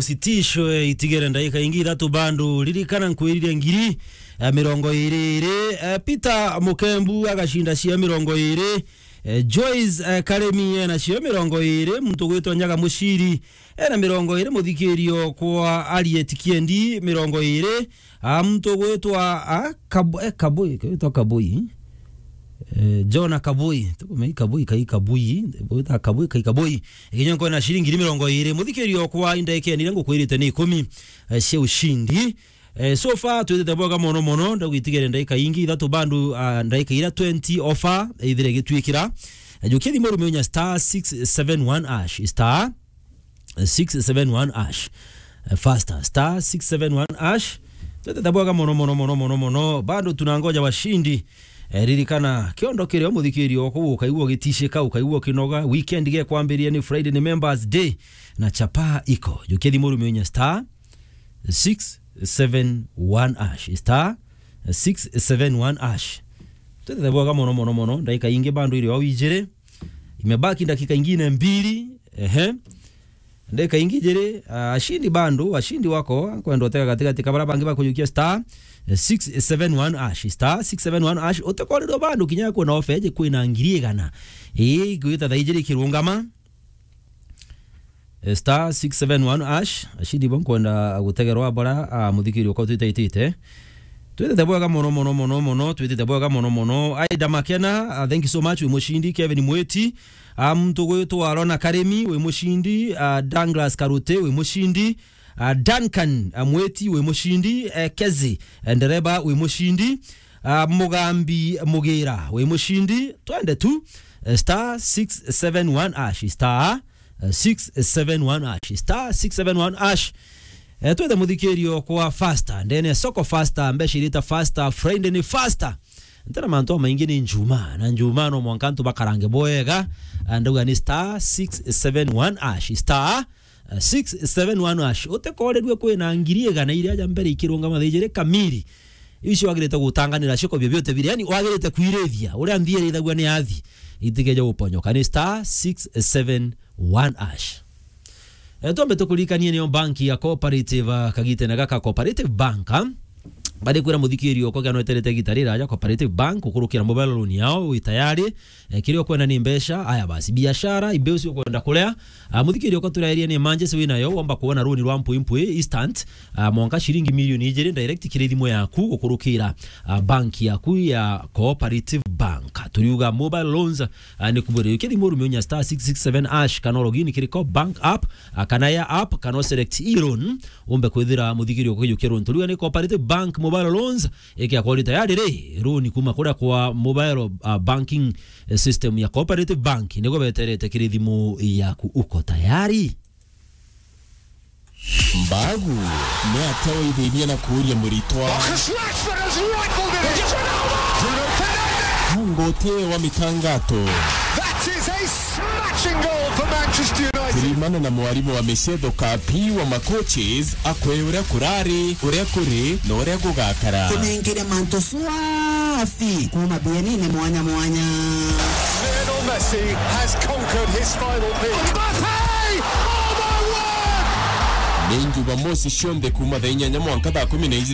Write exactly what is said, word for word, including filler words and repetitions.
Sitish, eh, itigere ndaika ingi ithatu bado. Ririkana nkwirire ngiri, eh, mirongo iri iri. Eh, Peter Mukembu agacinda cia mirongo iri. Eh, Joyce, eh, Karemi ena cio mirongo iri. Muntu gwitwa Nyaga Muciri ena mirongo iri. Muthikirio kwa Harriet Kiendi mirongo iri. Ah, muntu gwitwa, ah, Kabu-, eh, Kabui, gwitwa Kabui. Eh, Jona Kabui, tukumei Kabui, kai Kabui, gwita Kabui, kai Kabui. Ikinya nkwena ciringi ngiri mirongo iri. Muthikirio kwa indaika nire ngukwirite ni ikumi, eh, cia ushindi. Eh, so far, twitite bwega mono mono, ndagwitigere ndaika ingi ithatu bandu, ah, ndaika ira twenty offer, ithire igitwikira. Eh, jukia thimu rume unya star six seven one hash, star six seven one hash. Eh, faster, star six seven one hash. Twitite bwega mono mono mono mono mono. Bado tunangoja washindi. Eh, ririkana, kiondo kirio muthikirio oku ukaigua ugitishika, ukaigua ukinoga. Weekend gekwambiria ni Friday, ni Members Day. Na chapa iko. Jukia thimu rume unya star six seven one hash. Star six seven one hash. Twitite bwega mono mono mono. Ndaika ingi bado iri o ijiri. Imebaki dakika ingine mbili. Ehe. Ndeka ingi jiri, ah, ashindi bado, ashindi wako, kwenda utega katikati kabara bangi bakujukia star, eh, six seven one hash, star six seven one hash, utekorirwa bado kinya kwona offer eje kwina ngiri igana. Ii, gwita thaa ijiri kirungama. Eh, star six seven one hash, ashindi bo nkwenda gutegerwa bara, ah, muthikirio kwa twitaitite. Twitite bwega mono mono mono mono, twitite bwega mono mono. Aida Makena, ah, thank you so much, wi mushindi. Kevin Mwiti, ah, muntu gwitwa Arona Karemi, wi mushindi. Ah, Douglas Karute, wi mushindi. Ah, Duncan, ah, Mwiti, wi mushindi. Eh, Kezi, eh, ndereba, wi mushindi. Ah, Mugambi Mugira, wi mushindi. Twende tu, eh, star six seven one hash, star, eh, six seven one hash, star six seven one hash. Eh, twende muthikirio kwa faster, ndene soko faster, mbeca irita faster, Friday ni faster. Ntena mantu maingi ni njuma, na njuma no mwanka antu bakarange bwega. Ah, ndauga ni star six seven one hash, star, eh, six seven one hash. Utekorerue kwina ngiri igana iria ja mbere ikirungama thaa ijiri kamiri. Icio wagirite gutanganira cioko biobiote biri. Yani wagirite kwirithia. Uria nthi irithagua ni athi. Itikeje guponyoka. Ni star six seven one hash. Eh, twambe tukuririkanie niyo banki ya Cooperative, ah, kagitene gaka Cooperative Bank, ah. Bari kwira muthikirio kwa gano eterete gita riraja Cooperative Bank, ukurukira mobile loan yao, wi tayari. Eh, kiria ukwenda ni mbeca, aya basi, biashara, imbeu cio kwenda kuria. Ah, muthikirio kwa turairie ni emergency winayo, womba kuona loan rwa mpwi mpwi, instant. Ah, mwanka ciringi milioni ijiri direct kiri thimu yaku gukurukira, ah, bank yaku ya Cooperative Bank. Turiuga mobile loans, ah, ni kubwira ukie thimu rume unya star six six seven hash, kana login kiri Co bank app, ah, kana ya app, kana select e-loan, umbe kwithira muthikirio kwa kijukia loan. Turiuga ni Cooperative Bank mobile loans, ikia kwori tayari ri, loan kuma kuria kwa mobile, ah, banking, eh, system ya Cooperative Bank, nigo beterete kiri thimu yaku. Uko tayari? Mbagu, ni atia waithithia na kuuria muritwa? Marcus Rashford has rifled it in. Bruno Fernandes! Hango uti wa mitangato. That is a smashing goal for Manchester United. Turimane na mwarimu wa micetho Kapi wa macoaches akwe uria kurari, uria kuri, na uria gugakara. Tunengere mantu swafi kuma bienine mwanya mwanya. Lionel Messi has conquered his final peak. Mbappe! Oh my word! Ni Jumamosi cionthe kuma thaa inyanya mwanka thaa kumi na ijiri